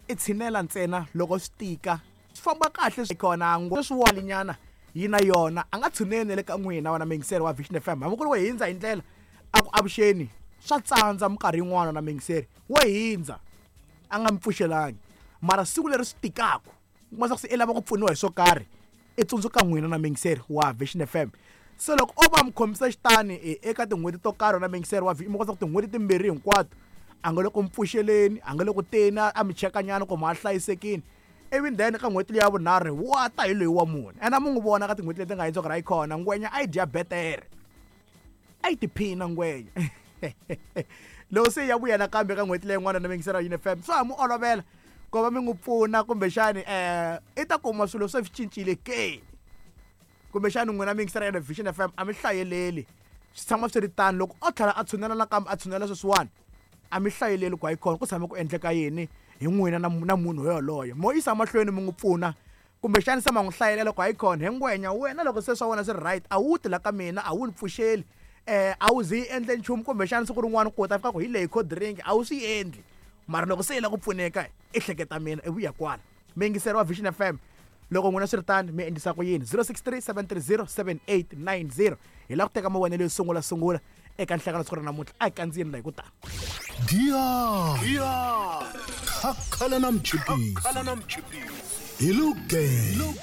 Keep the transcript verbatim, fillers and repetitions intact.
I tshinela ntsena loko swi tika, swi famba kahle swi kona sweswiwanyana yi na yona a nga tshuneli le ka n'wina wena muyingiseri wa Vision F M. Hambi ku ri wo hindza hi ndlela a ku avuxeni, swa tsandza minkarhi yin'wana na muyingiseri wo hindza a nga mi pfuxelangi, mara siku leri swi tikaka u kuma swa ku se i lava ku pfuniwa hi swo karhi, i tsundzuka n'wina na muyingiseri wa Vision F M. Se loko o va mi khomisa xitani eka tin'hweti to karhi na muyingiseri wa mi kota ku tin'hweti timbirhi hinkwato a nga le ku mi pfuxeleni, a nga le ku teni a mi chekanyana ku ma hlayisekile, ivi then ka n'hweti liya ya vunharhu wa ta hi loyi wa mune. Ene a mi n'wi vona ka tin'hweti leti nga hundza ku ri hayi khona ngwenya a yi dya betere, a yi tiphina ngwenya. Loko se ya vuya nakambe ka n'hweti leyin'wana na muyingiseri wa Yini F M, swa ha mu olovela ku va mi n'wi pfuna, kumbexani um i ta kuma swilo se swi cincile ke, kumbexani n'wina muyingiseri ya Vision F M a mi hlayeleli, swi tshama swi ri tano. Loko o tlhela a tshunela nakambe a tshunela sweswiwani, a mi hlayeleli ku hayi khona ku tshame ku endleka yini hi n'wina na na munhu yoloye. Mo yisa mahlweni mi n'wi pfuna, kumbexani se ma n'wi hlayelela ku hayi khona he ngwenya wena loko se swa wena swi ri right a wu ti la ka mina, a wu ni pfuxeli, um a wu zi yi endle nchumu, kumbexani siku rin'wana ku ta fika ku hi leyi cold drink a wu swi endli, mara loko se yi lava ku pfuneka i hleketa mina i vuya kwala. Muyingiseri wa Vision F M, loko n'wina swi ri tano mi endlisa ku yini? zero six three seven three zero seven eight nine zero. Hi lava ku teka mavonelo yo sungula sungula eka nhlangano siku ra namuntlha. A hi kandziyeni la hi ku tala. Giya. Khakhala na mchipisi. Hi lo gang.